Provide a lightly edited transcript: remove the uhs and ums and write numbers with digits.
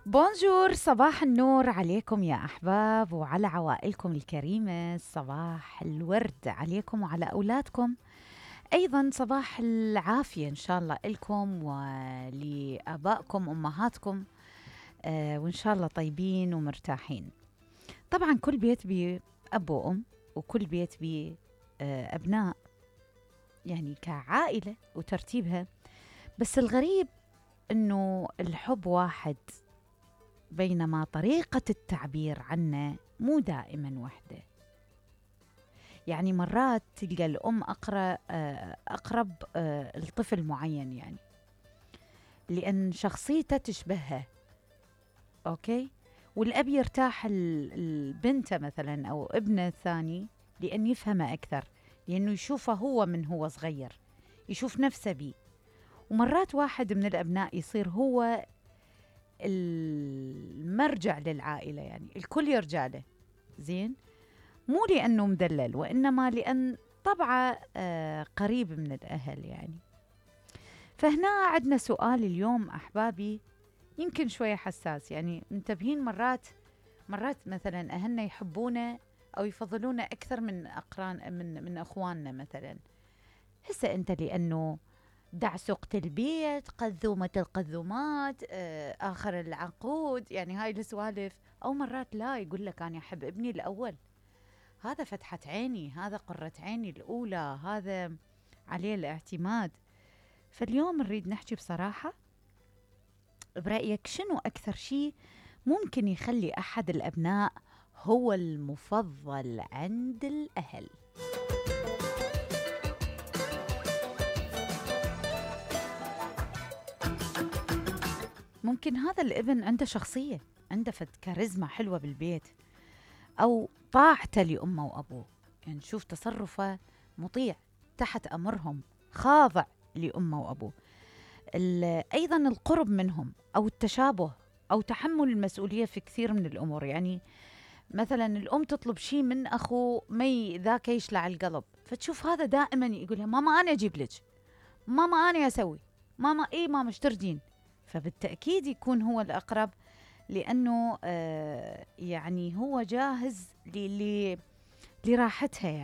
بونجور، صباح النور عليكم يا أحباب وعلى عوائلكم الكريمة. صباح الورد عليكم وعلى أولادكم، أيضا صباح العافية إن شاء الله لكم ولآبائكم أمهاتكم. وإن شاء الله طيبين ومرتاحين. طبعا كل بيت بيه أب وأم، وكل بيت بيه أبناء، يعني كعائلة وترتيبها. بس الغريب إنه الحب واحد، بينما طريقة التعبير عنه مو دائما وحدة. يعني مرات تلقى الأم أقرب لطفل معين، يعني لأن شخصيته تشبهها، أوكي؟ والأب يرتاح البنت مثلا أو ابنه الثاني لأن يفهمه أكثر، لأنه يشوفه هو من هو صغير، يشوف نفسه بيه. ومرات واحد من الأبناء يصير هو المرجع للعائلة، يعني الكل يرجع له، زين؟ مو لأنه مدلل، وإنما لأن طبعه قريب من الأهل يعني. فهنا عندنا سؤال اليوم أحبابي، يمكن شوية حساس، يعني منتبهين. مرات مثلا أهلنا يحبونا أو يفضلونا أكثر من أقران من أخواننا مثلا. هسه أنت لأنه دعسقة البيت، قذومة القذومات، آخر العنقود، يعني هاي السوالف. أو مرات لا، يقول لك أنا أحب ابني الأول، هذا فتحة عيني، هذا قرة عيني الأولى، هذا عليه الاعتماد. فاليوم نريد نحكي بصراحة، برأيك شنو أكثر شيء ممكن يخلي أحد الأبناء هو المفضل عند الأهل؟ ممكن هذا الابن عنده شخصية، عنده كاريزما حلوة بالبيت، أو طاعته لأمه وأبوه، يعني شوف تصرفه مطيع تحت أمرهم، خاضع لأمه وأبوه. أيضا القرب منهم، أو التشابه، أو تحمل المسؤولية في كثير من الأمور. يعني مثلا الأم تطلب شيء من أخو مي، ذاك يشلع القلب، فتشوف هذا دائما يقولها ماما أنا أجيب لك، ماما أنا أسوي، ماما إيه ماما اشترجين. فبالتأكيد يكون هو الأقرب، لأنه يعني هو جاهز لراحتها يعني.